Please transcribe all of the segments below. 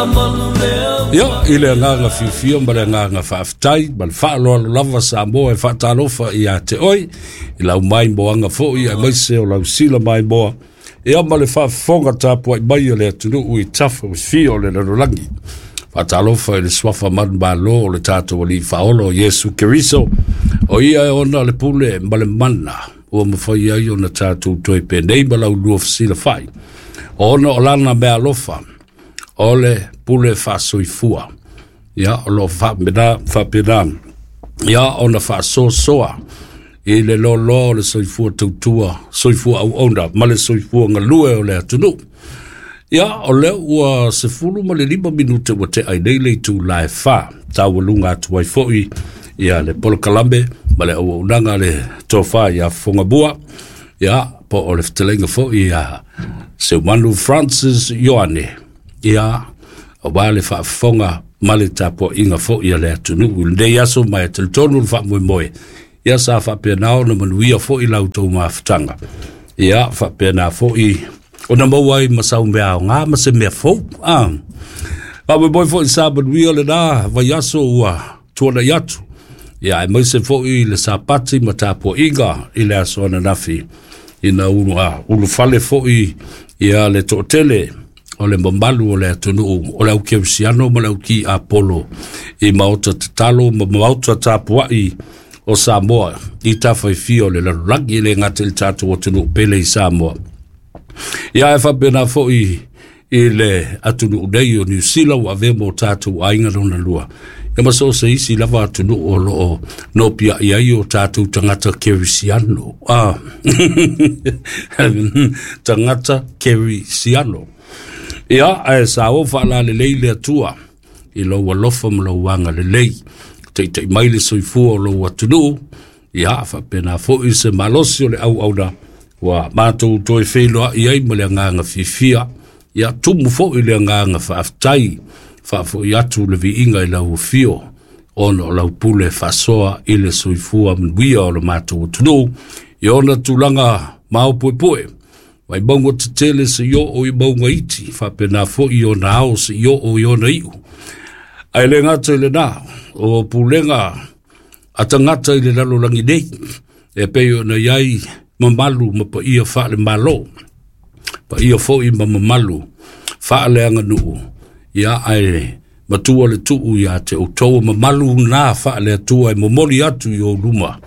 Ia, i le agaga fiafia ma le agaga faafetai ma le faaaloalo lava Samoa e faatalofa ia te oe i lau maimoaga foi aemaise o lau sila maimoa, ia ma le faafofoga tapuai mai a le atunuu i tafa e fia o le lalolagi. Faatalofa i le suafa manumalo o le tatou Alii Faaola o Iesu Keriso, o ia e ona le pule ma le mana ua mafai ai ona tatou toe penei ma laulua fesilafai, ona o lana meaalofa o le pule faasoifua. Ia, o lo o faapena, faapena ia ona faasoasoa i le loaloa o le soifua tautua, soifua auauna ma le soifua galue o le atunuu. Ia, o lea ua 15 minute ua tea ai nei le itula e 4, taualuga atu ai foi ia le polokalame ma le auaunaga a le tofa ia Fofogamua, ia po o le fetalaiga foi ia Seumanu Francis Ioane, ia aua le faafofoga ma le tapuaiga foi a le atunuu i lenei aso, ma e talitonu le faamoemoe ia sa faapena ona manuia foi la outou mafutaga, ia faapena foi ona maua ai ma sau mea aoga ma se mea fou. Faamoemoe foi sa manuia lena vaiaso ua tuanai atu, ia aemaise foi le Sapati ma tapuaiga i le aso ananafi, ina ua ulufale foi ia le toatele o le mamalu o le atunuu o le au kerisiano ma le au ki Apolo i maota tatalo ma maota tapuai o Samoa i tafa e fia o le lalolagi, e le gata i le tatou atunuu pele i Samoa, ia e faapena foi i le atunuu nei o Niu Sila ua avea mo tatou aiga lona lua, ia ma so o se isi lava atunuu o lo o nopiai ai o tatou tagata kerisiano. Tagata kerisiano. Ia, ae sa o faalalelei le Atua i lou alofa ma lou agalelei, taitai mai le soifua o lou atunuu, ia faapena foi se malosi o le auauna ua matou toe feiloai ai ma le agaga fiafia, ia tumu foi le agaga faafetai, faafoi atu le viiga i lau afio, ona o lau pule faasoa i le soifua manuia o le matou atunuu i ona tulaga maopuepue, mai mauga tetele seia oo i mauga iti, faapena foi i ona ao seia oo i ona iu. Ae le gata i lena, o pulega a tagata i le lalolagi nei, e pei ona i ai mamalu ma paia faale-Malo, paia foi ma mamalu faaleaganuu, ia ae matua le tuu ia te outou mamalu na faale-Atua e momoli atu i ou luma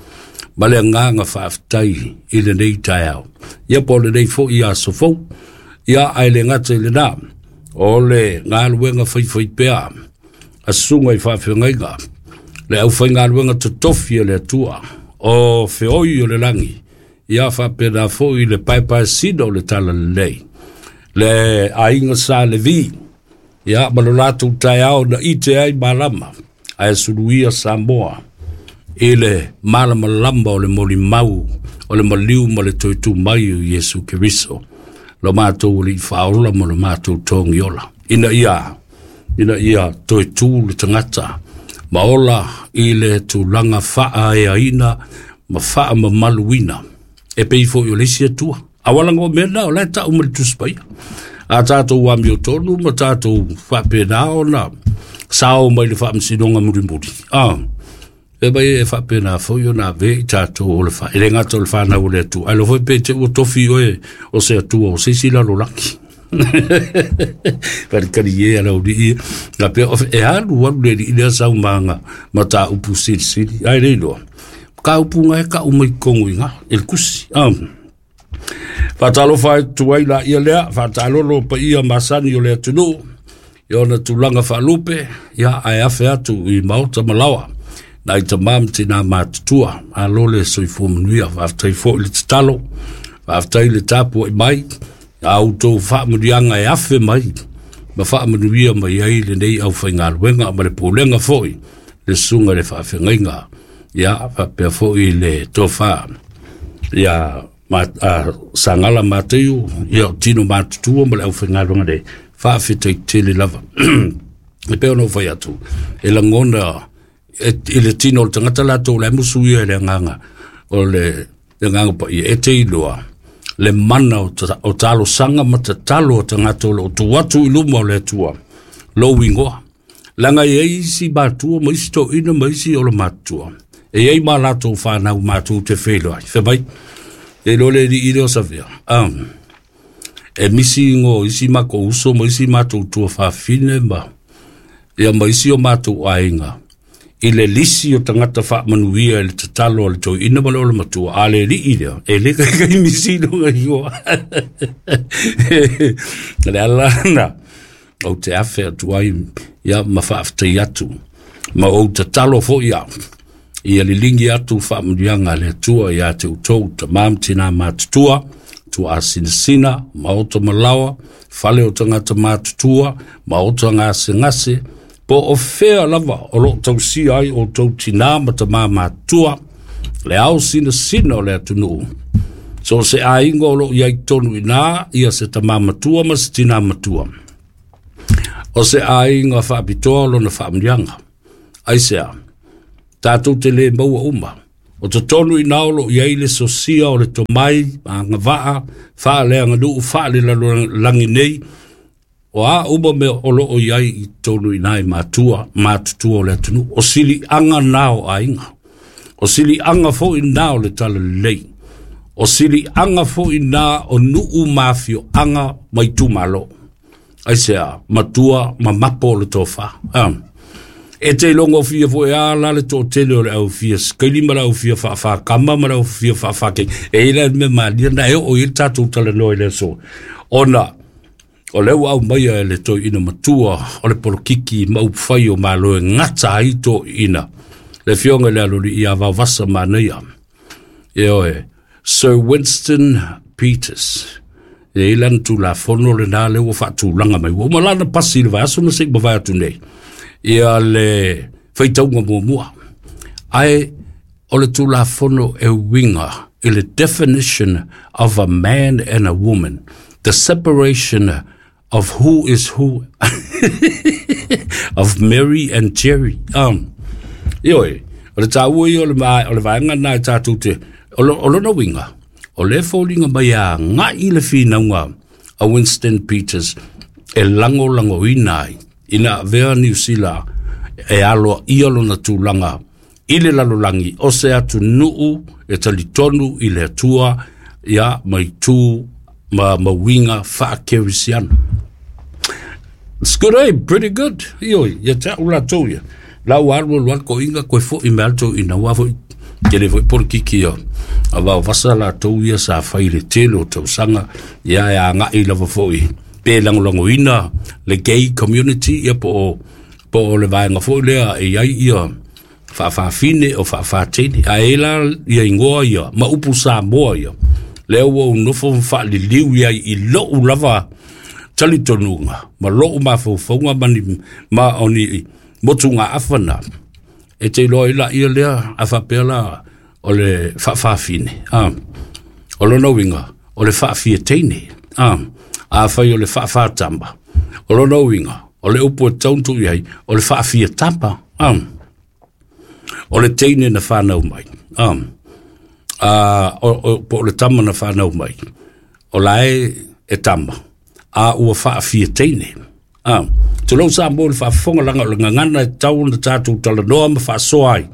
ma le agaga faafetai i lenei taeao, ia po o lenei foi aso fou. Ia ae le gata i lena, o le galuega faifaipea a susuga i faafeagaiga, le aufaigaluega totofi a le Atua o feoi o le lagi, ia faapena foi le paepaesina o le talalelei, le aiga Sa Levi, ia ma lo latou taeao na ite ai malama, ae suluia Samoa i le malamalama o le molimau o le maliu ma le toe tu mai o Iesu Keriso, lo matou Alii Faaola ma lo matou Togiola, ina ia toe tu le tagata ma ola i le tulaga faaeaina ma faamamaluina e pei foi o le isi Atua. Awala ngo mena o le tau ma le Tusi Paia. A tatou amiotonu ma tatou faapena ona sao mai le faamasinoga mulimuli. E mai e faapena foi ona ave i tatou o le e le gata o le whanau o le Atua. Ai lo foi pe te ua tofi oe o se Atua o se isi lalolagi. Palikali e ala uri ia. Nga pea o e alu alu le li lea sau maanga ma tā upu sili sili. Ai le iloa. Ka upu nga e ka umai kongu inga. E le kusi. Whātalofa ai tuai la ia lea, whātalolo pa ia masani o le atunuu, i ona tulaga faalupe, ia ae afe atu i maota malawa, nai tamā ma tinā matutua, alo le soifua manuia, faafetai foi le tatalo, faafetai le tapuai mai, a outou faamanuiaga e afe mai, ma faamanuia mai ai lenei aufaigaluega ma le pulega foi, le susuga i le faafeagaiga, ia faapea foi le tofa, ia Sangala Mateu, ia o tino matutua ma le aufaigaluega nei, faafetai tele lava. E pei ona ou fai atu, e lagona i le tino o le tagata latou le musu ia i le agaga o le agaga paia, e te iloa le mana o talosaga ma tatalo o tagata o lo o tu atu i luma o le Atua. Lou igoa. Leaga e i ai isi matua ma isi toeaina ma isi o le matutua, e i ai ma latou fanau matou te feiloai. Fai mai, e iloa le alii lea o Savea, e misi igoa o isi matou uso ma isi matou tuafafine ma, ia ma isi o matou aiga i le lisi o tagata faamanuia i le tatalo a le toeaina ma le ole matua, a le alii lea, e le kaikai misi lona igoa. O le ala lena ou te afe atu ai ia ma faafetai atu ma ou tatalo foi au ia liligi atu faamanuiaga a le Atua ia te outou tama ma tina matutua, tuaasinasina, maota malaoa, fale o tagata matutua, maota gasegase, po o fea lava o loo tausia ai outou tina ma tama matutua, le ao sinasina o le atunuu. So o se aiga o loo i ai tonu i ina ia se tama matua ma se tina matua. O se aiga faapitoa lona faamanuiaga. Aisea? Tatou te le maua uma. O totonu i ina o loo i ai le sosia o le tomai, agavaa, faaleaganuu, faalelalolagi nei, o a uma mea o loo i ai i totonu i ina i matua matutua o le atunuu. O siliaga na o aiga. O siliaga foi na o le talalelei. O siliaga foi na o nuu ma afioaga ma itumalo. Aisea? Matua ma mapo o le tofa. E te iloga fia foi a la le toatele o le au fia sikaili ma le au fia faafakama ma le au fia faafake. E i le mea malia na e oo i le tatou talanoa i le aso. Ona o lea ua aumaia e le toeaina matua o le polokiki ma upufai o Malo e gata ai toeaina. Le afioga i le aloalii ia Vaovasa Manaia. Ioe, Sir Winston Peters. E i lana tulafono lena lea ua faatulaga mai. Ua uma lana pasi i le vaiaso na se i mavae atu nei. Ia le faitauga muamua. Ae o le tulafono e uiga i le definition of a man and a woman. The separation of who is who of Mary and Jerry. Ioe, o le tāua ia o le, o le vaega na e tātou te, o, o lona uiga, o le foliga mai a ngai le finauga a Winston Peters e lagolagoina ai ina avea Niu Sila e aloaia lona tulaga i le lalolagi o se atunuu e talitonu i le Atua ia ma itu ma mauiga faakerisiano. It's good, eh? Pretty good. Ioe, ia te au latou ia. La ua alu alu alu koʻiga koe foʻi me alu toeaina ua foi tele foi polokiki ia. A Vaovasa latou ia sa fai le tele o tausaga ia e agai lava foi pe lagolagoina le gay community ia po o le vaega foi lea e i ai ia faafafine o faafatene. Ae la ia igoa ia ma upu Samoa ia. Lea ua ou nofo ma faaliliu i ai i lou lava talitonuga ma lou mafaufauga ma ni ma o ni motugaafa na. E te iloa ai laia lea a faapea la o le faafafine. O lona uiga o le faafiateine. Afai o le faafatama. O lona uiga o le upu e tatau ona tuu i ai o le faafiatama. O le teine na whanau mai. Po o le tama na whanau mai. O lae e tama. A ua faafiateine. Tulou Samoa le faafofoga laga o le gagana e tatau ona tatou talanoa ma faasoa ai.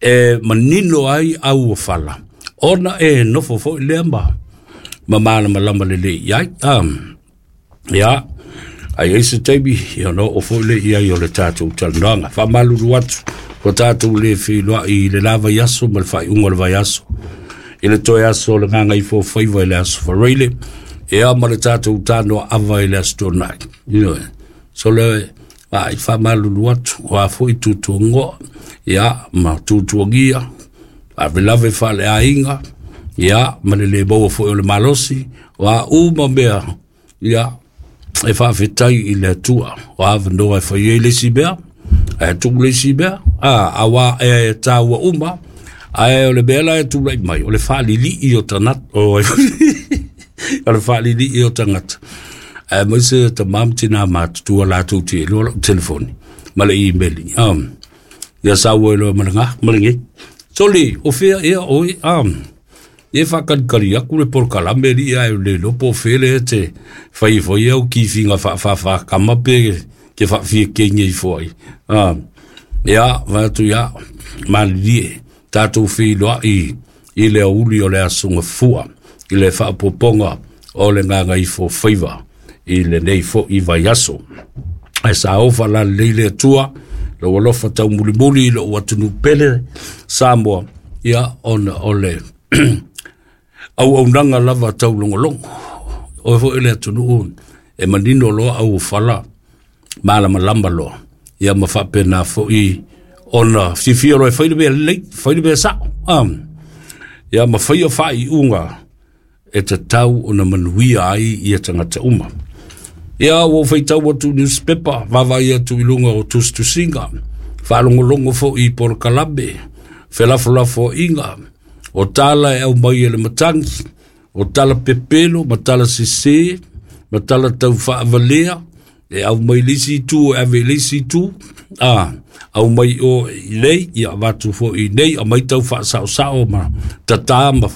E manino ai au o fala. Ona e nofo foi lea ma malamalama lelei i ai. Ia, ai ai se taimi, ia no o foi le i ai o le tatou talanoaga. Faamalulu atu, ua tatou le feiloai i le la vaiaso ma le faaiuga o le vaiaso. I le toe aso o le Gagaifofaiva i le aso Faraile, ia ma le tatou tanoa ava i le aso Toonai. Ioe, so le ai faamalulu atu, o a foi tutuagoa, ia ma tutuagia, faalavelave faaleaiga, ia ma le le maua foi o le malosi, o a uma mea, ia e faafetai i le Atua. O avanoa e fai ai le isi mea, ae tuu le isi mea, aua e tāua uma, ae o le mea la e tulai mai, o le faalilii o tagata, o le faalilii o tagata. Ae mai se tama ma tina matutua latou te iloa lau telefoni ma le email. Ia sau ai loa ma le gā, ma le ge. Soli, o fea ia oi, Ia e faakalikali atu le polokalame alii ae le iloa po o fea lea e te fai ai foi au kifiga faafafakama pe ke faafiakeina ifo ai. Ia, vae atu ia, malilie, tatou feiloai i le aoauli o le Aso Gafua i le faaopoopoga o le Gagaifo Faiva i lenei foi vaiaso. Ae sa ofa lalelei le Atua lou alofa taumulimuli i lou atunuu pele Samoa, ia ona o le auaunaga lava taulogologo. Oe foi le atunuu e manino loa auofala malamalama loa, ia ma faapena foi ona fiafia loa e fai le mea lelei, fai le mea sao. Ia ma faia faaiuga e tatau ona manuia ai ia tagata uma. Ia ua ou faitau atu i newspaper, vaavaai atu i luga o tusitusiga, faalogologo foi i polokalame, felafolafoaiga, o tala e aumai e le matagi, o tala pepelo ma tala sese, ma tala taufaavalea, e aumai le isi itu e ave i le isi itu, aumai o i nei, ia avatu foi i nei, aumai tau faasaosao ma tata ma